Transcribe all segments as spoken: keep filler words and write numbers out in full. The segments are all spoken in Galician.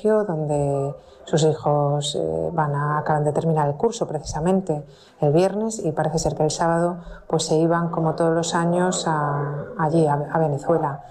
colegio donde sus hijos eh, van a, acaban de terminar el curso precisamente el viernes y parece ser que el sábado pues se iban como todos los años a, allí a, a Venezuela.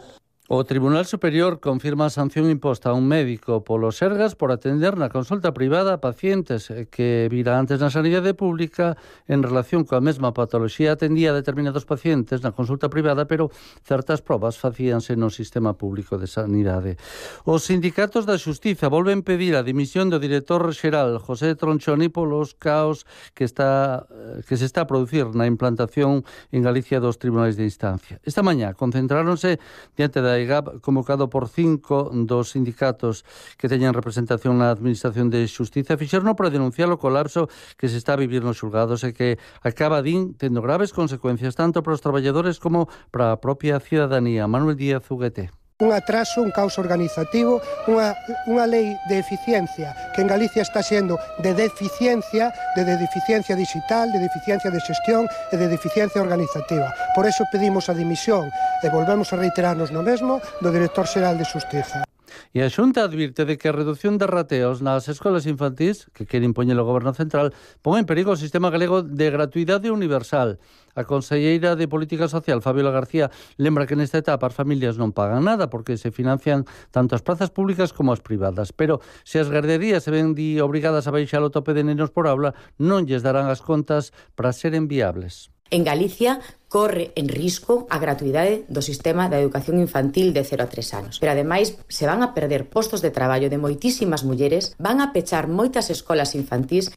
O Tribunal Superior confirma a sanción imposta a un médico polo Sergas por atender na consulta privada a pacientes que vira antes na sanidade pública en relación coa mesma patoloxía. Atendía a determinados pacientes na consulta privada, pero certas probas facíanse no sistema público de sanidade. Os sindicatos da Xustiza volven pedir a dimisión do director xeral José Tronchoni polos caos que está que se está a producir na implantación en Galicia dos tribunais de instancia. Esta mañá concentráronse diante da I G A P convocado por cinco dos sindicatos que teñen representación na Administración de Xustiza, fixeron para denunciar o colapso que se está a vivir nos xulgados e que acaba, din, tendo graves consecuencias tanto para os traballadores como para a propia cidadanía. Manuel Díaz Uguete. Un atraso, un caos organizativo, unha, unha lei de eficiencia que en Galicia está sendo de deficiencia, de, de deficiencia digital, de deficiencia de xestión e de deficiencia organizativa. Por eso pedimos a dimisión e volvemos a reiterarnos no mesmo do director xeral de Xustiza. E a Xunta advirte de que a reducción de rateos nas escolas infantís, que quere impoñer o Goberno Central, pon en perigo o sistema galego de gratuidade universal. A conselleira de Política Social, Fabiola García, lembra que nesta etapa as familias non pagan nada porque se financian tanto as prazas públicas como as privadas. Pero se as garderías se ven di obrigadas a baixar o tope de nenos por aula, non lles darán as contas para seren viables. En Galicia corre en risco a gratuidade do sistema da educación infantil de cero a tres anos. Pero ademais se van a perder postos de traballo de moitísimas mulleres, van a pechar moitas escolas infantís.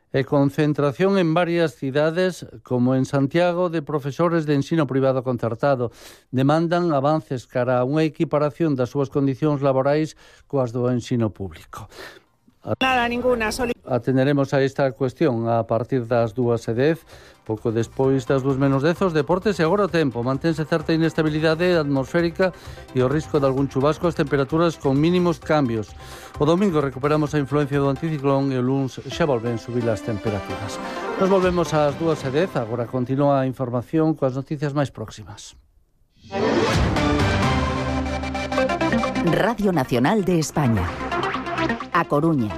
E concentración en varias cidades, como en Santiago, de profesores de ensino privado concertado. Demandan avances cara a unha equiparación das súas condicións laborais coas do ensino público. Nada, ninguna. Soli... Atenderemos a esta cuestión a partir das dúas e dez, pouco despois das dúas menos dez, os deportes e agora o tempo. Mantense certa inestabilidade atmosférica e o risco de algún chubasco, as temperaturas con mínimos cambios. O domingo recuperamos a influencia do anticiclón e o luns xa volven subir as temperaturas. Nos volvemos ás dúas e dez, agora continúa a información coas noticias máis próximas. Radio Nacional de España. A Coruña,